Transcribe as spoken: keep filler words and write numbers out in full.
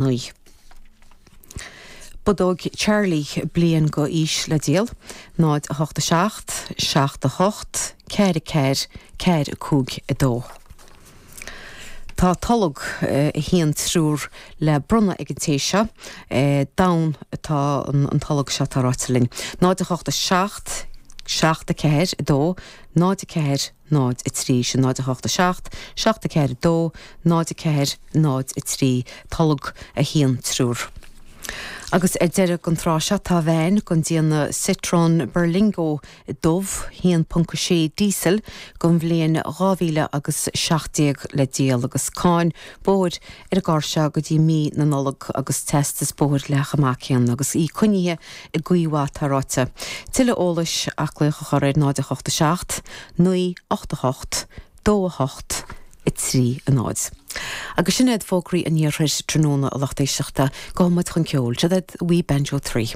naoi. Bodóg Charlie bliain go aois le díol, náid a hocht a seacht, seacht a hocht, ceathair ceathair, ceathair cúig a dó. Tá tolg a haon triúr le bronnadh ag an té seo, donn atá an tolg seo tá ráite linn. Náid a hocht a seacht, seacht a ceathair a dó, náid a ceathair, náid a trí, sin náid a hocht a seacht, seacht a ceathair a dó, náid a ceathair, náid a trí, tolg a haon triúr. Agus ar deireadh an tráth seo tá veain den déanamh Citroën Berlingo dubh haon ponc sé diesel den bhliain dhá mhíle agus seacht déag le díol agus cáin bóthair ar an gcarr seo go dtí mí na Nollag agus teastas bóthair le chomh maith céanna agus í coinnithe i gcaoi mhaith tá ráite. Tuilleadh eolais ach glaoch a chur ar náid a hocht a seacht, naoi ocht a hocht, dó a hocht, a trí a náid. Agus sin iad fógraí an iarthair tráthnóna a lucht éisteachta gabhfaidh muid chun ceoil, seo iad Wee Banjo Three.